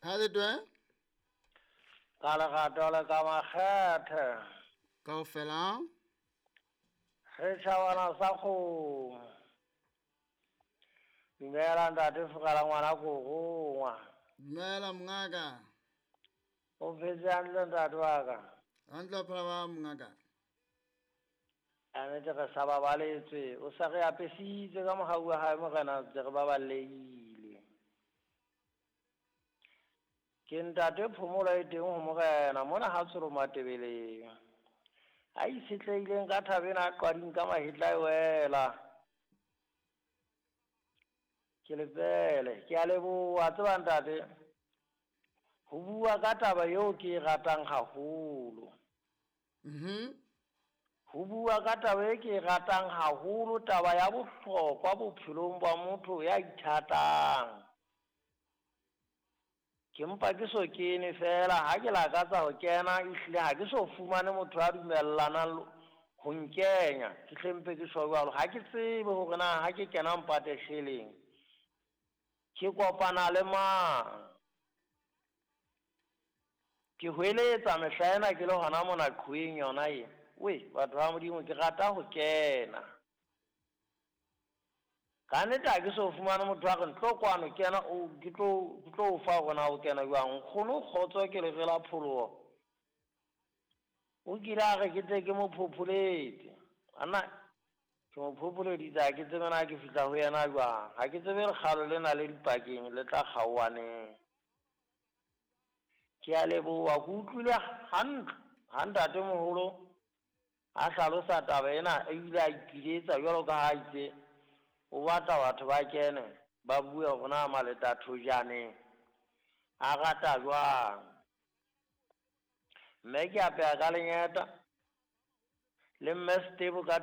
Ha le twe? Ka lerato le ka makgethe. Kaofela. Setjhabana sa kgomo. Dumela ntate Fokala ngwana korongwa. Dumela mongaka. O phetse hantle ntate wa ka? Hantle phela ba mongaka. A nnete re sa babaletswe, o sa re apesitse ka mohau wa hae morena ntse re baballehile. Ke ntate phomolo e teng ho morena mona ha tsholo matebeleng. A itshetlehileng ka thabeng a qwading ka mahetla e wela. Ke lepele, ke a leboha tseba ntate. Ho bua ka taba eo ke e ratang haholo. Ho bua ka taba e ke e ratang haholo, taba ya bohlokwa bophelong ba motho ya ithatang. Ke mpa ke so kene fela ha ke lakatsa ho kena ehlile ha ke so fumane motho a dumellanang ho nkenya ke hle mpe ke tjho jwalo ha ke tsebe hore na ha ke kena mpatesheleng ke kopana le mang. Ke hweletsa mehla ena ke le hona mona qhoweng yona e. We batho ba Modimo ke rata ho kena. Ka nnete ha ke so fumane motho a re ntlo kwano kena o ke tlo ke tlo o fa hore na o kena jwang. Nkgono kgotso ke lere la pholoho. O kile a re ke tle ke mo phopholetse. Ana ke mo phopholeditse ha ke tsebe na ke fihla ho yena jwang. Ha ke tsebe lekgalo lena le dipakeng le tla kgaohaneng. Ke a leboha ke utlwile hantle ha ntatemoholo a hlalosa taba ena ebile a ipiletsa jwalo ka ha itse o batla batho ba kene ba bue hore na maletathojane a rata jwang. Mme ke apeha ka lengeta le mme Setebo ka